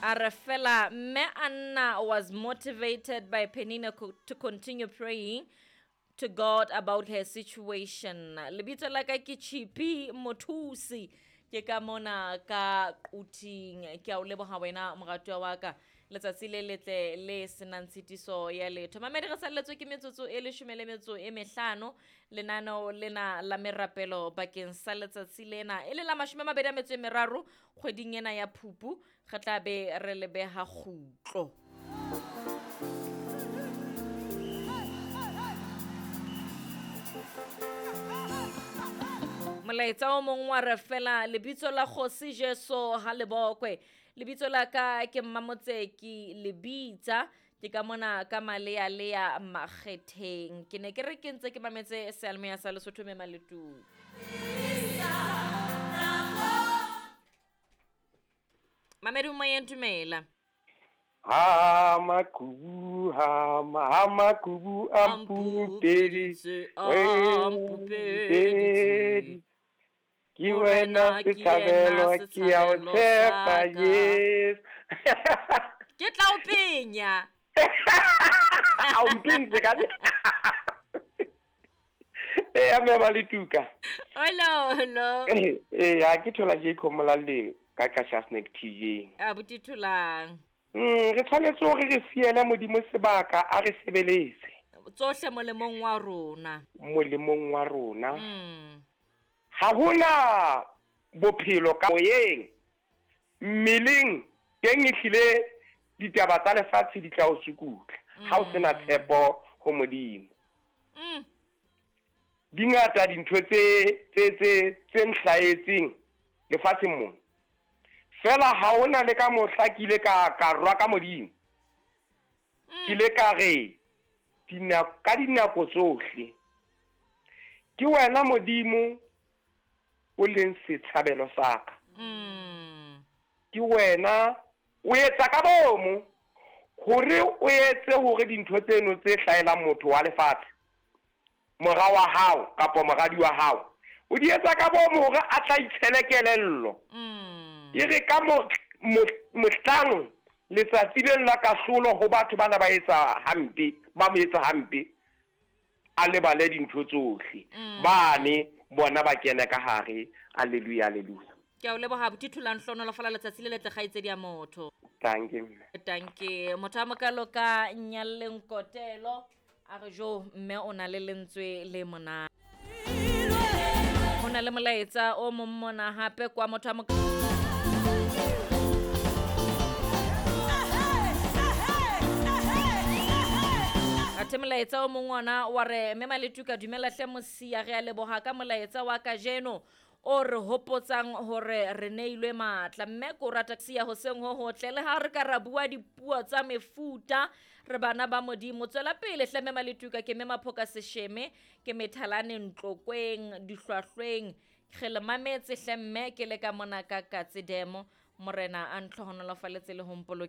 A re fela mme Anna was motivated by Penina to continue praying to God about her situation. Lebitso la ka ke Chipi Mothusi. Ke ka mona ka Quthing. Ke a o leboha wena moratuwa wa ka. Letsatsi le letle le senang tshitiso ya letho. Mamedi re salletswe ke metsotso e leshome le metso e mehlano lenaneo lena la merapelo bakeng sa letsatsi lena e le la 23 kgweding ena ya Phupu re tla be re le beha kgutlo. Molaetsa o mong wa re fela lebitso la Kgosi Jesu ha le bokwe. Lebitso la ka ke Mmamotseki Lebitsa ke ka mona ka Malealea Makgetheng. Ke ne ke re ke ntse ke mametse seyalemoya sa Lesotho me Maletung. Mamedi moyeng dumela. Ha makubu ha ha makubu a mpupeditse a mpupeditse. Ke wena setshabelo ke ya o tshepa Jesu. Ke tla o penya. A o mpentse ka. Eh a me ba le tuka. Hello hello. Eh ha ke thola je khomola le ka ka Snack TV. A buti tholang. Re tshwanetse hore re siele Modimo sebaka a re sebeletse. Tsohle molemong wa rona. Molemong wa rona. Ha hona bophelo ka moyeng. Mmeleng teng ehlile ditaba tsa lefatshe di tla o sukutla. Ha o sena tshepo ho Modimo. Dingata dintho tse tse tse tse nhlahetseng lefatsheng mona. Fela ha hona le ka mohla ke ile ka ka rwa ka Modimo. Ke ile ka re ka dinako tsohle ke wena Modimo o leng setshabelo sa ka. Ke wena o etsa ka bomo hore o etse hore dintho tseno tse hlahelang motho wa lefatshe mora wa hao kapa moradi wa hao o di etsa ka bomo hore a tla itshele kelello. E re ka mohlang letsatsi leng la kahlolo ho batho bana ba etsa hampe, ba mo etsa hampe, a lebale dintho tsohle. Bane bona ba kene ka hare. Alleluia, alleluia. Ke a o leboha abuti Tholang, hlohonolofala letsatsi le letle kgaitsedi ya motho. Danke mme. Danke. Motho a mokalo ka Nyalleng Kotelo a re jo mme o na le lentswe le monate. Ho na le molaetsa o mong mona hape kwa motho a Athe molaetsa o mong ona wa re mme Maletuka dumela hle mosia re a leboha ka molaetsa wa kajeno o re hopotsang hore re neilwe matla. Mme ko rata sia hoseng ho hotle le ha re ka ra bua dipuo tsa mefuta re bana ba Modimo. Tswela pele hle mme Maletuka ke mme Maphoka Sesheme ke methalane Ntlokweng dihlwahlweng re le mametse hle mme ke le ka mona ka Katse Demo. Morena a ntlhohonolofaletse le ho mpoloke.